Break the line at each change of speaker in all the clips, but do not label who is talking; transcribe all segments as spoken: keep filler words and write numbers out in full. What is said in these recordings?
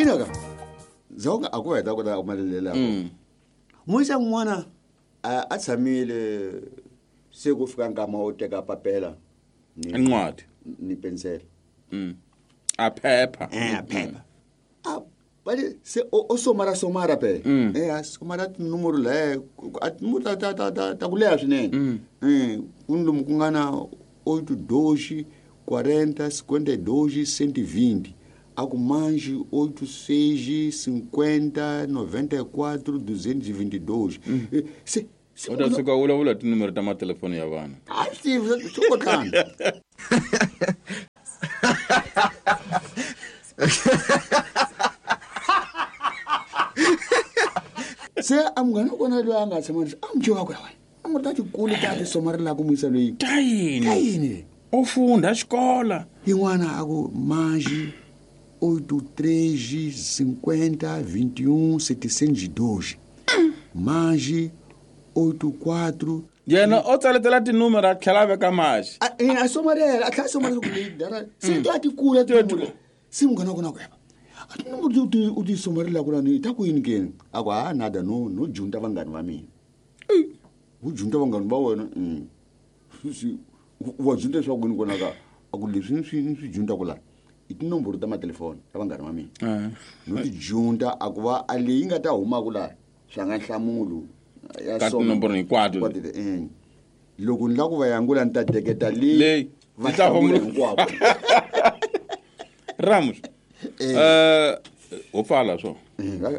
Ina ka zonga a ku heta ku ta malelela muisa n'wana a a tshamile se ku fika nkama wo teka papela
ni incwadi
ni pensela
mm a phepha
eh a phepha a bali se o o somara somara pe eh a somara tinomoro le a tinomoro ta ta ta ta ku leha swinene eh ku ni lomu ku nga na oito dois quarenta cinquenta e dois cento e vinte a ku mais oito seis cinquenta noventa e quatro duzentos e vinte e dois se
u ta tshuka u vulavula tinomoro ta matelefoni ya vanhu
a swi tivi swi kotana se a munghana wa kona loyi a nga tshama a mu wa ku ya wena a mu ta tikulu ta ti somarela ku muyisa loyi
ta yini
ta yini
u funda xikola
yin'wana a ku mais oito três cinquenta vinte e um setecentos e dois mais oito quatro
yena o tsaletela tinumero a tlhela a veka maxi
a a somarela a tlhela a somarela ku leyi dara se ta tikula tinumero se munghana wa kona ku yeva a tinomoro ti u ti somarela ku lani ta ku yini keni a ku ha nada no no junta vanghani va mina u junta vanghani va wena wa junta leswaku yini kona ka a ku leswi ni swi ni swi junta ku la i tinomboro ta matelefoni ta vanghani va mina no ti junta a ku va a leyi nga ta humaka la swa nga nhlamulo ya
ka tinomboro hinkwato
loko ni lava ku va yangula ni ta teketa leyi
va hlamula hinkwako Ramos eh ho pfala swo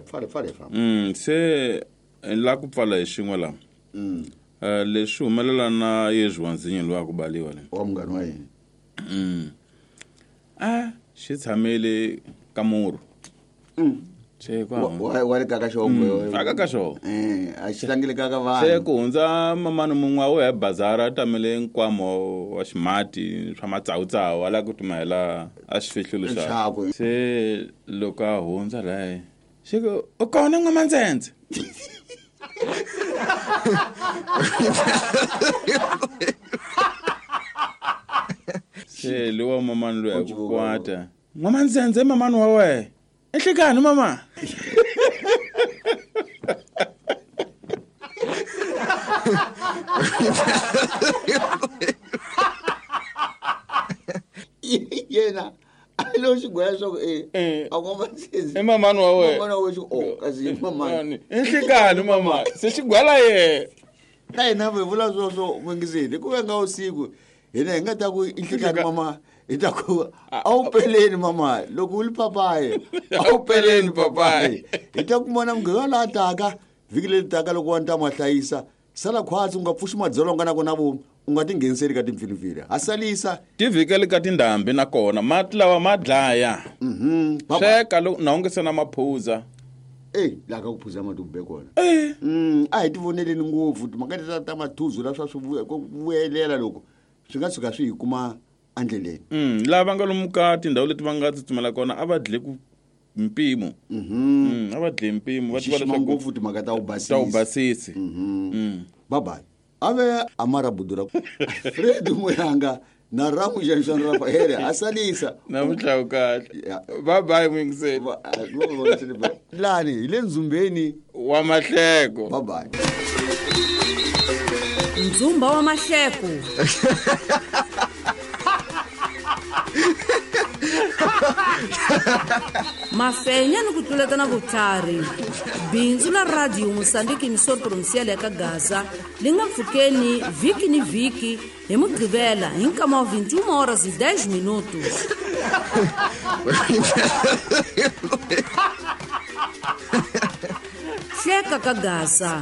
pfala pfala famba
mm se la ku pfala hi xin'we la
mm
eh leswi humelela na Yesu wanzinyo loyi a ku baliwa le
wa munghana wa yena
mm a xi tshamele ka murhu
mm
se kwa
wa wa le kaka xongo
aka ka xongo
eh a xi tlangele kaka vanhu
se ku hundza mamani mun'we wo ya bazara tamele nkwamo wa ximati swa matsawutsawu ala ku tumela a xifihlulo
xa
se loko a hundza laye xi ku u kona n'wamandzendze se lowa mamani loyi a ku kwata n'wamandzendze mamani wa wena enhlekani mama
yena a lo xigwela swa ku e a n'wamandzendze
i mamani wa wena
mamani wa wena o kasi i mamani
enhlekani mama se xigwela ye
na hina hi vula sweswo n'wingiseni ku venga usiku hina hi nga ta ku inhlekani mama hi ta ku a wu peleni mama loko u li papayi a wu peleni papayi hi ta kumona mughiva laha taka vhiki leri taka loko wa ni ta ma hlayisa sala khwatsi u nga pfuxi madzolonga na kona vomu u nga tingheniseli ka timpfilimpfili ha salisa
tivhikeli ka tindhambi nakona mati lawa ma dlaya sweka loko na u nge se na maphuza
e laha ka ku phuza mati ku be kona mm a hi ti voneleni ngopfu timhaka ta ta mathuzu la swa swi vuyelela loko swi nga tshuka swi hi kuma endleleni
mm lava nga lomu ka tindhawu leti va nga tsutsumela kona a va dle ku mpimo
mm
a va dle mpimo va tiva
leswaku ngopfu timhaka ta u basisi
ta u basisi
mm bye bye ave amara budura Fred Muyanga na Ramu Jason Rafael asalisa
na mutlawu kahle bye bye mwingiseni
lani hi le nzumbeni
wa mahleko
bye bye
Nzumba wa mahleko mafenya ni ku tluleta na vutlhari bindzu la radio Mozambique emissora provincial ya ka Gaza li nga pfukeni vhiki ni vhiki hi mugqivela hi nkama wa vinte e uma horas e dez minutos. Hleka ka Gaza.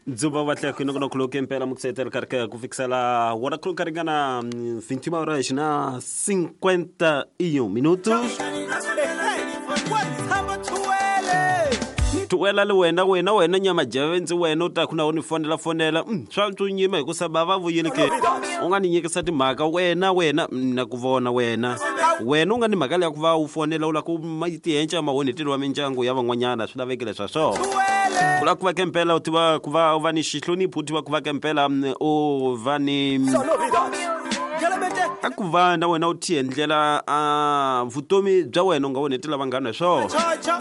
Ndzumba wa tlhelo ku no khuluka impela muksetela karhi ku fikisela wona khuluka ringana vinte e uma horas na cinquenta e um minutos. Tuwela le wena wena wena nyama jeve ndzi wena u ta ku na u ni fonela fonela mm, swa ntsunyima hikusa va va vuyile ke u nga ni nyikisa timhaka wena wena mm, na ku vona wena wena u nga ni mhaka leya ku va u fonela u lava ku tihenca mahonhetelo wa mindyangu ya van'wanyana swi lavekile swa swona ku lava ku va kempela u tiva ku va u va ni xihlonipho u tiva ku va kempela mm, u va ni a ku va na wena u tiendlela a vutomi bya wena u nga onhetela vanghana hi swona.